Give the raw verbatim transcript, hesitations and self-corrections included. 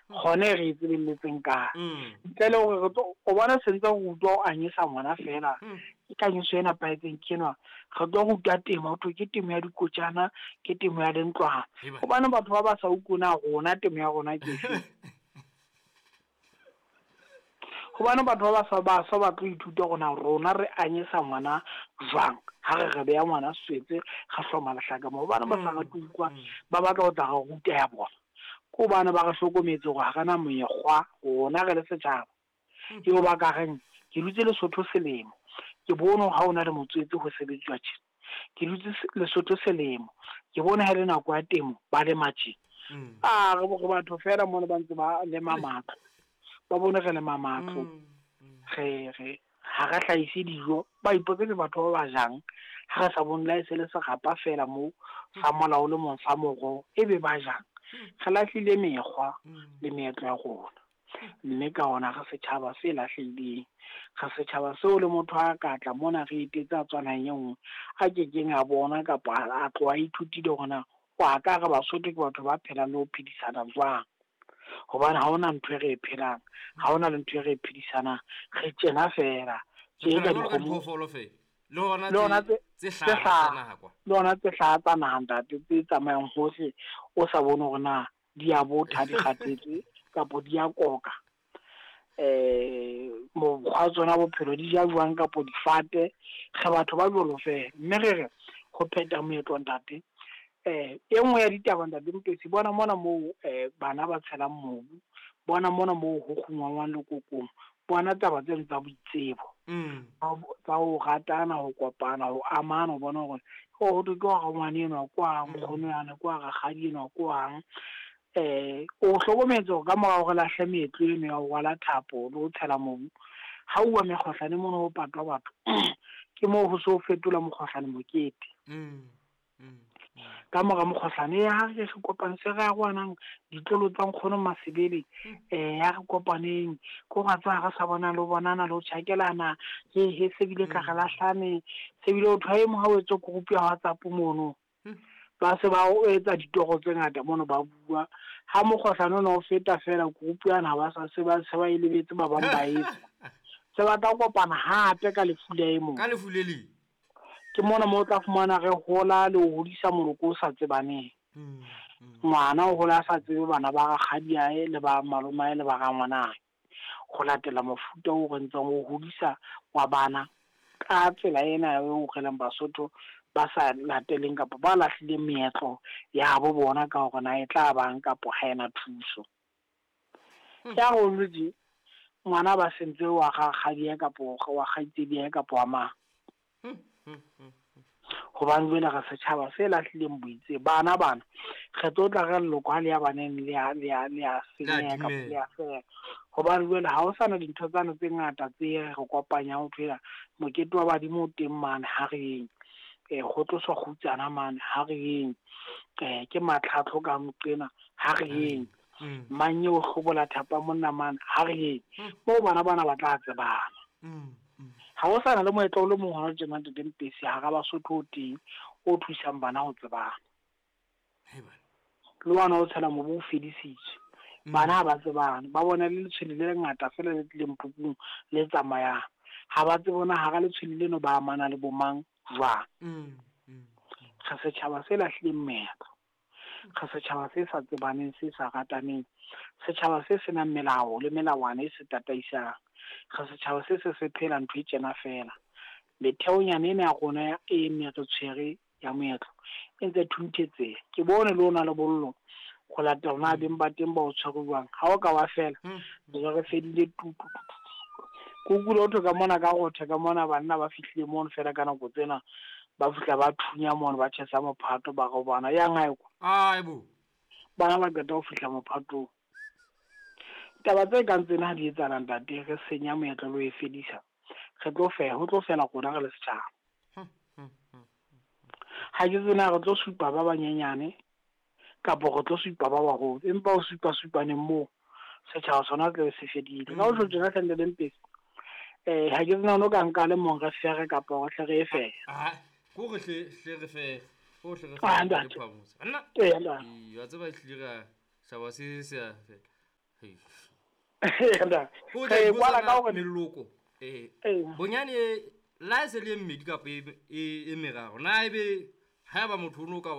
Gone re e tsebelletseng kae? Ntle le hore re tlo o bona sentse re utlwa o anyesa ngwana fela, ke kanyiso e nepahetseng ke enwa. Re tlo rutwa temo, ho thwe ke temo ya dikotjana, ke temo ya lentlwana. Hobane batho ba ba sa utlwe na rona temo ya rona ke efe? Hobane batho ba ba sa ba sa batle ho ithuta hore na rona re anyesa ngwana jwang. Ha re re beha ngwana swetse, re hloma lehlaka moo. Hobane ba sa rate ho utlwa, ba batla ho tla re ruta ya bona. Ke hobane ba re hlokometse hore ha re na mekgwa, rona re le setjhaba. Eo ba ka reng, ke dutse Lesotho selemo, ke bone ha hona le motswetse ho sebetsuwa tjena. Ke dutse Lesotho selemo, ke bone ha e le nako ya temo, ba lema tjena. A re re batho fela mona ba ntse ba lema matlo. Ba bone re lema matlo, re re ha re hlahise dijo, ba ipotse ke batho ba ba jang. Ha re sa bone le ha e se le serapa fela moo, sa mola o le mong sa moroho, ebe ba jang. Re lahlile mekgwa le meetlo ya rona. Mme ka hona re setjhaba se lahlehileng. Re setjhaba seo le motho a ka tla mona re etetse a tswa naheng e nngwe, a kekeng a bona kapa a tloha a ithutile hore na wa ka re Basotho ke batho ba phelang le ho phedisana jwang. Hobane ha hona ntho e re e phelang, ha hona le ntho e re e phedisanang, re tjena fela. Tje ka dikgomo. Le hona Le hona tse tse tse tse hlaha hlaha tsa naha kwa. Le hona tse hlaha tsa naha ntate, tse tsamayang hohle o sa bone hore na di a botha, di kgathetse kapa di a koka. Eh, mokgwa tsona bophelo di ja jwang kapa difate. Re batho ba jwalo fela. Mme re re ho phetha moetlo ntate. Eh, e nngwe ya ditaba ntate Mpetsi, bona mona moo eh bana ba tshelang mobu, bona mona moo ho kgungwangwang lekokong, bona taba tseno tsa boitsebo. Mm. Tsa ho ratana, ho kopana, ho amana, ho bona hore ho thwe ke wa rangwane enwa kwang, nkgono yane kwa, rakgadi enwa kwang. Eh, o hlokometse hore ka mora hore re lahle meetlo eno ya ho rwala thapo le ho tshela mobu, ha uwa mekgohlane mono ho patwa batho, ke moo ho so fetola mokgohlane mokete. Mm. Mm. Ka mora mokgohlane, ya re re kopane se re arohanang ditlolo tsa nkgono Masebele, eh ya re kopaneng, ko ra tswa re sa bona le ho bonana le ho tjhakelana, he he se bile ka re lahlane, se bile ho thwe ha o etse group ya WhatsApp mono. Ba se ba o etsa ditoro tse ngata mono ba bua. Ha mokgohlane ona o feta fela group yana ba sa se ba se ba e lebetse ba bang ba etsa. Se ba tla kopana hape ka lefu le e mong. Ka lefu le leng. Ke mona moo o tla fumana re hola le ho hodisa moloko o sa tsebaneng. Mm, mm. Ngwana o hola a sa tsebe bana ba rakgadiae le ba malomae le ba rangwanae. Ho latela mofuta o re ntseng o hodisa wa bana ka tsela ena eo re leng Basotho ba sa lateleng kapa ba lahlileng meetlo ya bo bona ka hore na e tla bang kapa ha ena thuso. Ya rona tje, ngwana ba sentse wa rakgadiae kapa wa kgaitsediae kapa wa mang. Hobane jwale re setjhaba se lahlileng boitse. Bana bana re tlo tla re leloko ha le ya baneng le ya, le ya, le ya senyeha kapa le ya fela. Hobane jwale ha ho sana dintho tsane tse ngata tse re kopanyang ho thwela mokete wa badimo o teng mane ha re yeng. Eh, ho tloswa kgutsana mane ha re yeng. Eh, ke matlhatlo ka moqena ha re yeng. Mang eo hlobola thapa monna mane ha re yeng. Moo bana bana ba tla tsebana. Ha ho sana le moetlo o le mong hona tjena Ntate Mpesi hara Basotho o teng o thusang bana ho tsebana. Le ona o tshela mobu o fedisitswe. Bana ha ba tsebane, ba bona le letshwele le lengata fela le tlileng phupung le tsamayang. Ha ba tsebe na hara letshwele leno ba amana le bo mang jwang. Re setjhaba se lahlileng meetlo. Re setjhaba se sa tsebaneng, se sa rataneng. Setjhaba se senang melao le melawana e se tataisang. Re setjhaba se se se phela ntho e tjena fela. Metheonyana ena ya rona e ne re tshwere ya moetlo e ntse thunthetse. Ke bone le ona lebollo ho latela na beng ba teng ba o tshwere jwang. Ha o ka wa fela, re re fedile tu, tu, tu, tu. Ke utlwile ho thwe ka mona ka rothe ka mona banna ba fihlile mono fela ka nako tsena, ba fihla ba thunya mono, ba tjhesa mophato, ba re bana yang hae kwa. Ai bo. Bana ba qeta ho fihla mophatong. Taba tse kang tsena ha di etsahala ntate, re senya moetlo le ho e fedisa. Re tlo fe-, ho tlo fela rona re le setjhaba. Ha ke tsena re tlo supa ba banyenyane kapa re tlo supa ba baholo, empa ho supa supaneng moo setjhaba sona tla be se fedile. Ka ho tjho tjena hle Ntate Mpesi, eh, ha ke tsena no ka nka le mong re fere kapa re hle re e fere. Ah, ko re hle, hle re fere. Ko hle re Ah, fere, ntate. re phamotse. Nna? Ee, ntate. Ee, wa tseba ehlile ra shaba se se a fela. Hei. Re Ko tla e kwala ipotsa ka na hore meloko eh Ee. bonyane la e se le e mmedi kapa e e e meraro na ebe haeba motho o no ka